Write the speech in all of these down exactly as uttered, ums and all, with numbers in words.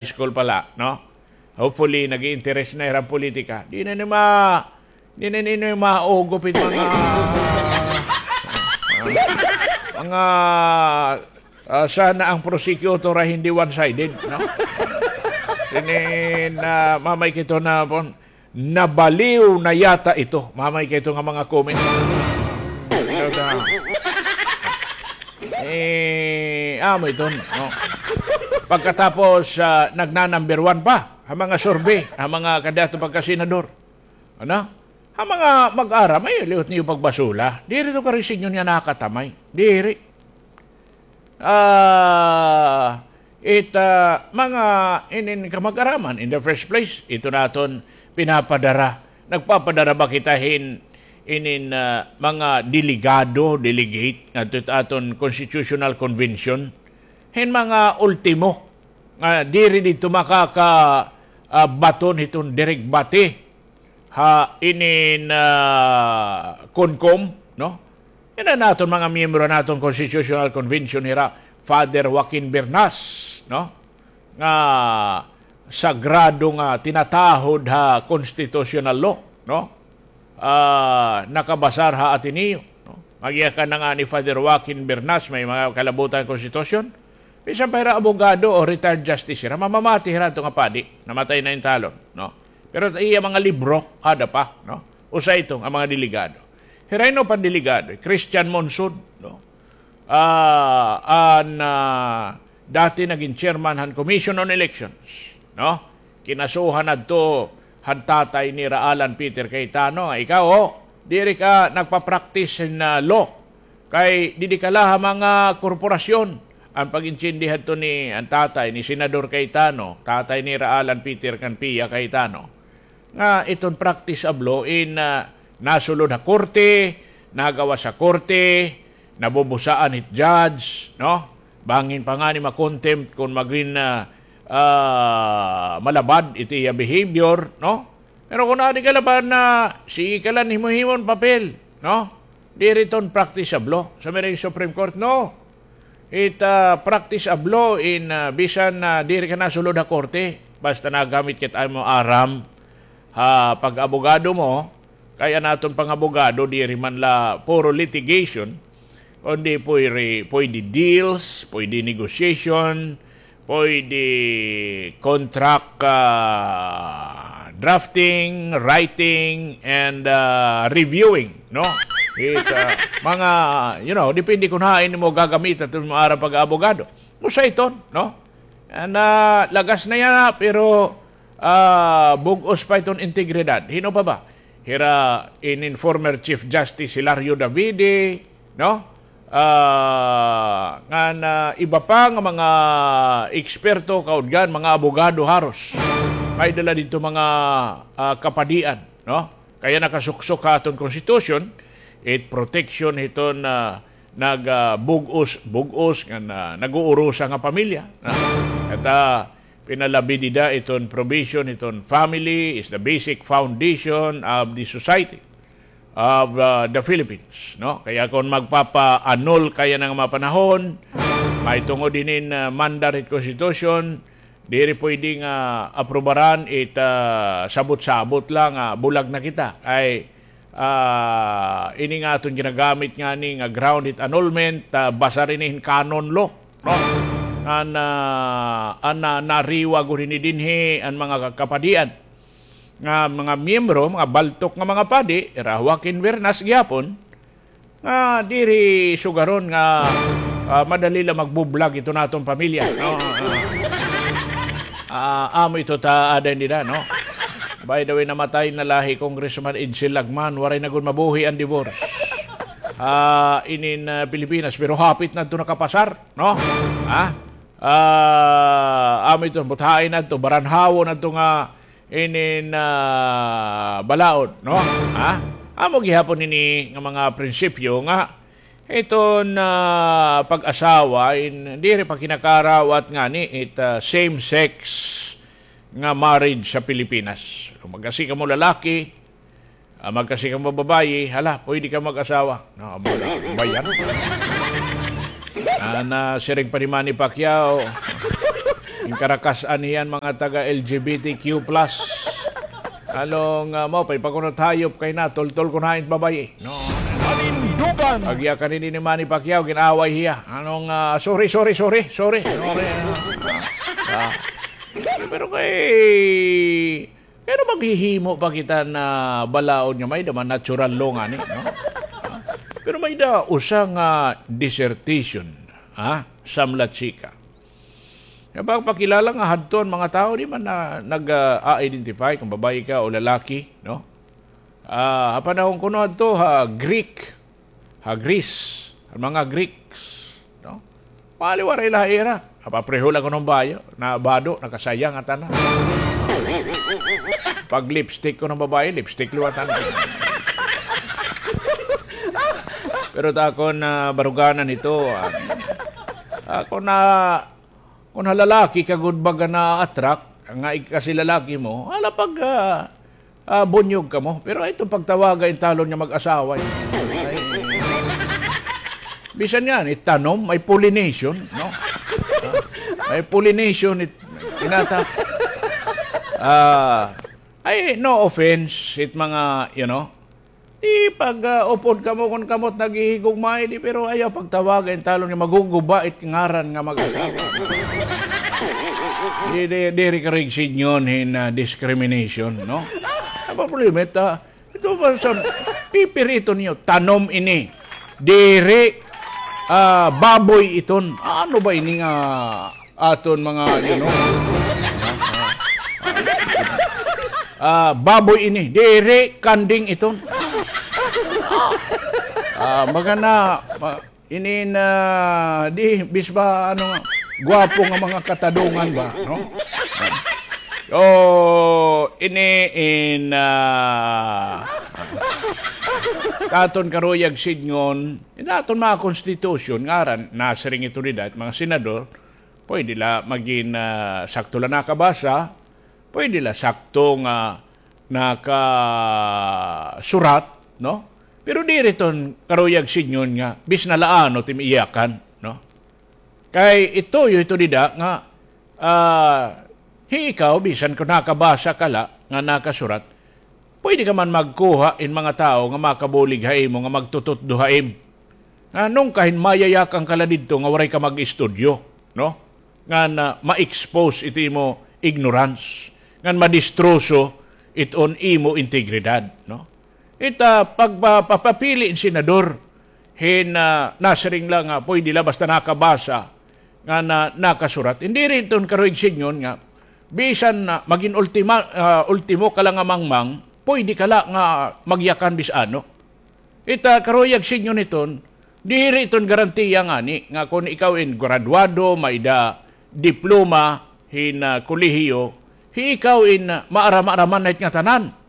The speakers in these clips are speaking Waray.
school pala, no? Hopefully, nag-i-interest na hira han politika. Di na ni ma-, di na ni maugop it mga, mga, ah, sana ang prosecutor ay hindi one-sided, no? Sinin, ah, mamay kito na pon, nabaliw na yata ito. Mamay kito nga mga comment. Ano ta? Eh, amo iton, no? Pagkatapos, ah, nagna-number one pa ha mga survey, ha mga kandidato pagkasenador. Ano? Ha mga mag-aram, ay, liwat niyo pagbasula. Diri to karisignon nga nakatamay. Diri. Ah, it, ah, mga inin kamag-araman, in the first place, ito naton pinapadara. Nagpapadara ba kita hin inin, ah, mga delegado, delegate, ngadto it aton constitutional convention? Hin mga ultimo, nga diri didto makaka, ah, baton hiton dirigbate ha inin, ah, CONCOM, no? Yana naton mga miyembro naton Constitutional Convention hira, Father Joaquin Bernas, no? Nga sagrado nga tinatahod ha constitutional law, no? Ah, nakabasar ha Ateneo, no? Magyakan na nga ni Father Joaquin Bernas, may mga kalabutan konstitusyon. Bisan pa hira abogado o retired justice hira, mamamati hira adto nga padi, namatay na in talon, no? Pero iya mga libro, ada pa, no? Usa ito nga mga delegado. Hira hin uban delegado, Christian Monsod, no? Ah, an, ah, dati nagin chairman han Commission on Elections, no? Kinasuhan adto han tatay nira Alan Peter Cayetano, nga ikaw, oh, diri ka nagpa-practice hin, ah, law. Kay didi ka la ha mga korporasyon. An pag-intindi hadto ni, an tatay ni Senador Cayetano, tatay nira Alan Peter kan Pia Cayetano, nga iton practice of law in, ah, nasulod ha korte, nagawas ha korte, nabubusaan hit judge, no? Bangin pa ngani ma-contempt kon magin, ah, ah, malabad it iya behavior, no? Pero kon adi ka la ba na, sige ka la hin himo-himon papel, no? Diri iton practice of law. Sa may Supreme Court, no. It, ah, practice of law in, ah, bisan, ah, diri ka nasulod ha korte, basta nagamit ka it imo aram ha pag-abogado mo, kay an aton pang-abogado, diri man la puro litigation, kundi pwede, pwede deals, pwede negotiation, pwede contract, ah, drafting, writing, and, ah, reviewing, no? It, ah, mga, you know, depende kon hain mo gagamit it imo aram pag-abogado. Usa iton, no? An, ah, lagas na yana, pero, ah, bug-os pa iton integridad. Hin-o pa ba? Hira inin former Chief Justice Hilario Davide, no? Ah, ngan iba pa nga mga eksperto, kaudgan, mga abogado haros. May dala didto mga, ah, kapadian, no? Kay nakasuksok ha aton konstitusyon, it protection hiton, ah, nag, ah, bug-os, bug-os ngan, ah, nag-uurusa nga pamilya, no? At, ah, pinalabi dida iton provision hiton family is the basic foundation of the society of, ah, the Philippines, no? Kaya kon magpapa-annul ka yana nga mga panahon, mahitungod hinin, ah, mandar hit Constitution, diri pwede nga aprubaran it, ah, sabot-sabot la nga bulag na kita. Kay, ah, ini nga aton ginagamit ngani nga ground hit annulment, ah, basar ini hin canon law, no? An, ah, an, ah, nariwa gud hini dinhi an mga kapadian nga mga miyembro, mga baltok nga mga padi, hira Joaquin Bernas gihapon, nga diri sugaron nga, ah, madali la magbublag iton aton pamilya, no? Ah, ah, amo ito ta aada dida, no? By the way, namatay na la hi Congressman Edsel Lagman, waray na gud mabuhi an divorce. Ah, inin, ah, Pilipinas, pero hapit na ito nakapasar, no? Ha? Ah, amo ito, buthain na ito, baranhawon na ito nga inin, ah, balaod, no? Ha? Amo gihapon ini nga mga prinsipyo nga iton, ah, pag-asawa in diri pa kinakarawat ngani it, ah, same-sex nga marriage sa Pilipinas. Kon mag-asi kamo lalaki, ah, mag-asi kamo babayi, hala, pwede ka mag-asawa. No, amo na, bayan. An, ah, siring pa ni Manny Pacquiao, Karakas-an hiyan mga taga L G B T Q plus. Ano nga mao pa, ipakunot hayop kay natultol ko na hain babayi. No? Panindugan! Agyakan ini ni Manny Pacquiao, gin-away hiya. Ano nga, sorry, sorry, sorry, sorry. Sorry. Ah. Pero kay, pero maghihimo pa kita na balaod nga may-ada man natural law ngani, no? Pero may-ada usa nga dissertation, ha? Samlat sika. Nga pagpakilala nga hadto an mga tawo, di man na nag, ah, identify kung babayi ka o lalaki, no? Ah, ha panahon kuno hadto, ha Greek, ha Greece, an mga Greeks, no? Maliwara ila ha ira. Papareho la kuno hin bayo, nabado, nakasayang an tanan. Pag-lipstick kuno hin babayi, lipstick liwat an tanan. Pero ta akon, ah, baruganan ito, ah, ah, kon na, kon ha lalaki ka gud baga na-attract, nga ig-, kasi lalaki mo, hala pag, ah, ah, bunyog kamo. Pero ay, iton pagtawaga in talon nga mag-asawa, eh. Ay, bisan nga, ni tanom, may pollination, no? May pollination, it, inata. Ah, ay, no offense, it mga, you know, di pag, ah, upod kamo kon kamo it naghihigugma, di, pero ayaw pagtawaga in talon nga maguguba it ngaran nga mag-asawa. Di, di, diri karo igsidngon hin, ah, discrimination, no? Ano ba problema ito? Ito ba sa pipiriton niyo? Tanom ini. Diri, ah, baboy iton. Ano ba ini nga aton mga, you know? Ah, baboy ini. Diri, kanding iton. Ah, magana, ma-, ini na, di, bis ba, ano nga, gwapo nga mga katadungan ba, no? So, ini in, ah, aton karuyag sidngon, in aton mga konstitusyon, ngaran, nasiring ito dida, mga senador, pwede la magin, ah, sakto la nakabasa, pwede la sakto nga nakasurat, no? Pero diri iton karuyag sidngon nga bisan la ano it im iyakan, no? Kay ituyo ito dida nga, ah, hi ikaw, bisan kon nakabasa ka la nga nakasurat, pwede ka man magkuha hin mga tawo nga makabulig ha imo, nga magtututdo ha im. Nga nungkahin mayayakan ka la didto nga waray ka mag-istudyo, no? Ngan, ah, ma-expose it imo ignorance, ngan madistroso iton imo integridad, no? Ita pagpa-, papapili hin senador hin, ah, nasiring la nga pwede la basta nakabasa nga na, nakasurat. Diri iton karuyag sidngon nga bisan na magin ultima, ah, ultimo ka la nga mangmang, pwede ka la nga magyakan bisan ano. Ita karuyag sidngon iton, diri iton garantiya ngani nga kon ikaw in graduado, may-ada diploma hin, ah, kolehiyo, hi ikaw in, ah, maaram-araman na it ngatanan.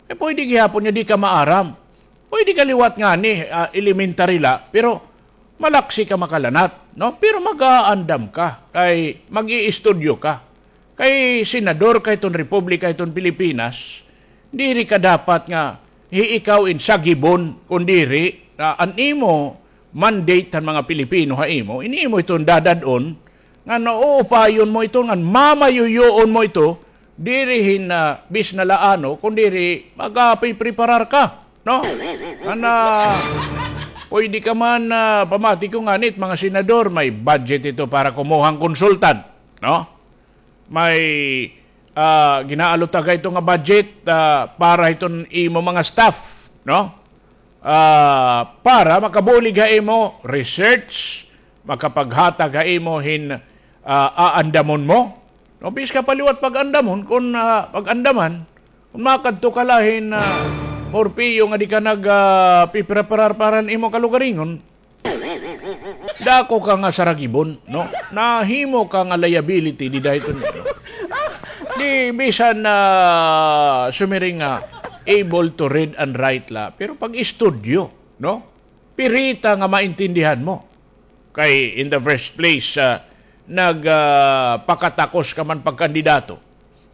Eh, pwede gihapon nga di ka maaram. Pwede ka liwat ngani, ah, elementary la, pero malaksi ka makalanat, no? Pero mag-aandam ka, kay mag-iistudyo ka. Kay senador ka hiton Republika hiton Pilipinas, diri ka dapat nga hi ikaw in sagibon, kon diri, ah, an imo mandate han mga Pilipino ha imo, in imo iton dadad-on, ngan uupayon mo ito, ngan mamayuyoon mo ito, diri hin, ah, bisan la ano, kon diri magapipreparar ka, no? Ngan, ah, pwede ka man, ah, pamati ko ngani it mga senador, may budget ito para kumuha hin konsultan, no? May, ah, ginaalutaga ito nga budget, ah, para hiton imo mga staff, no? Ah, para makabulig ha imo research, makapaghatag ha imo hin, ah, aandamon mo. No, bis ka pa liwat pag-andamon, kon, ah, pag-andaman, kon makadto ka la hin, ah, Morpeo nga di ka nag, ah, pipreparar para han imo kalugaringon, dako ka nga saragibon, no? Nahimo ka nga liability dida hiton, no? Di bisan na sumiring nga able to read and write la, pero pag-istudyo, no? Pirita nga maintindihan mo. Kay in the first place, ah, nag, ah, pakatakos ka man pagkandidato.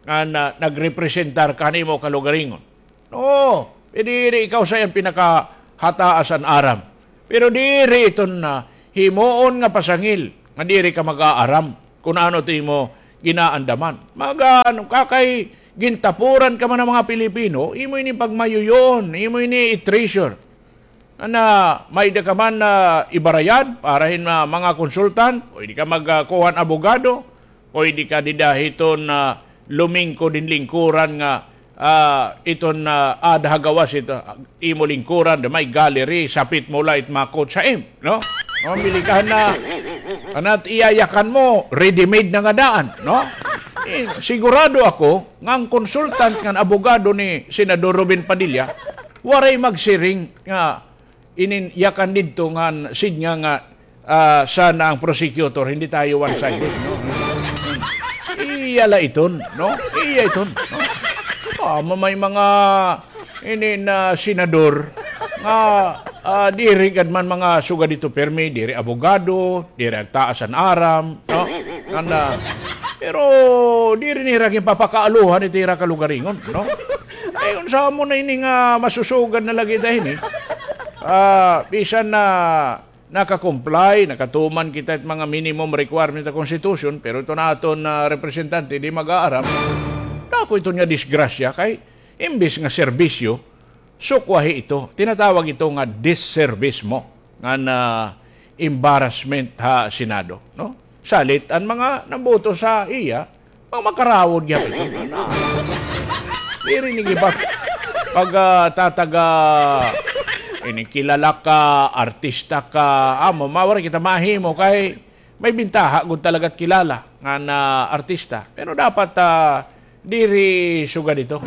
Nga na, nagrepresentar ka han imo kalugaringon. Oo, eh, diri ikaw sa iyan pinakahataas an aram. Pero diri iton, ah, himuon nga pasangil nga diri ka mag-aaram kon ano it imo ginaandaman. Mga ano, kakay gintapuran ka man han mga Pilipino, imo ini pagmayuyoon, imo ini i-treasure. Ana, may-ada ka man na ibarayad para hin, ah, mga konsultan, pwede ka magkuha han abogado, pwede ka dida hiton, ah, lumingkod hin lingkuran nga, ah, iton, ah, aada ha gawas ito, imo lingkuran, da may gallery, sapit mo la it makot sa im, no? Mamili ka na, anat iyayakan mo, ready-made na nga daan, no? Eh, sigurado ako nga an consultant ngan abogado ni Senador Robin Padilla, waray magsiring nga inin yakan didto ngan sidnga nga, ah, sana ang prosecutor, hindi tayo one-sided, no? Iya la iton, no? Iya iton, no? Amo may mga inin senador nga, ah, diri gad man mga sugad didto pirmi, diri abogado, diri agtaas an aram, no? Ngan, ah, pero diri nira ginpapakaaluhan ito ira kalugaringon, no? Ay, unsa mo na ini nga masusugad na lagi ta ini? Ah, bisan na naka-comply, nakatuman kita it mga minimum requirement sa constitution, pero ito na aton, ah, representante, di mag-aaram. Dako ito nga disgrasya kay imbis nga serbisyo, sukwahi ito. Tinatawag ito nga disservice mo, nga na embarrassment ha Senado, no? Salit an mga namboto sa iya, mga makarawod gyapon ito. Na, diri ni gibag pag, ah, tataga, ini kilala ka, artista ka, amo, mawari kita mahimo kay may bintaha gud talaga it kilala nga na artista. Pero dapat, ah, diri sugad ito.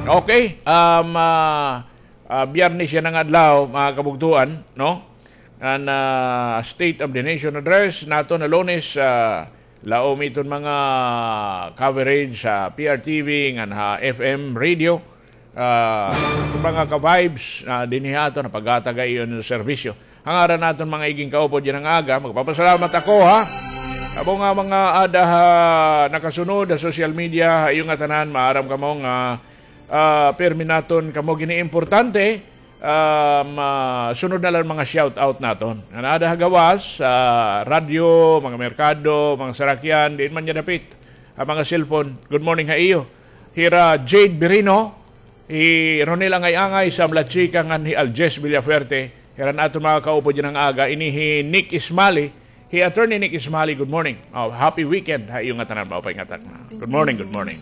Okay, um, ah, ah, Biyernes yana nga adlaw, mga kabugtuan, no? An, ah, State of the Nation Address naton ha Lunes, ah, laom iton mga coverage sa P R T V ngan ha F M radio. Ah, mga ka-vibes, ah, dinhi ha aton, napaghatag ha iyo hin serbisyo. Ha ngaran naton mga iging kaupod yana nga aga, magpapasalamat ako, ha. Kamo nga mga aada ha nakasunod ha social media, ha iyo ngatanan, maaram kamo nga, ah, pirmi naton kamo giniimportante. Ah, masunod na la an mga shout out naton. An aada ha gawas, sa radyo, mga merkado, mga sarakyan, diin man niya dapit, ha mga cellphone. Good morning ha iyo. Hira Jade Birino, hi Ronel Angay-angay, Sam Lachika, ngan hi Aljes Villafuerte. Hira an aton mga kaupod yana nga aga, ini hi Nick Ismali, hi Attorney Nick Ismali, good morning. Oh, happy weekend ha iyo ngatanan, maupay nga takna. Good morning, good morning.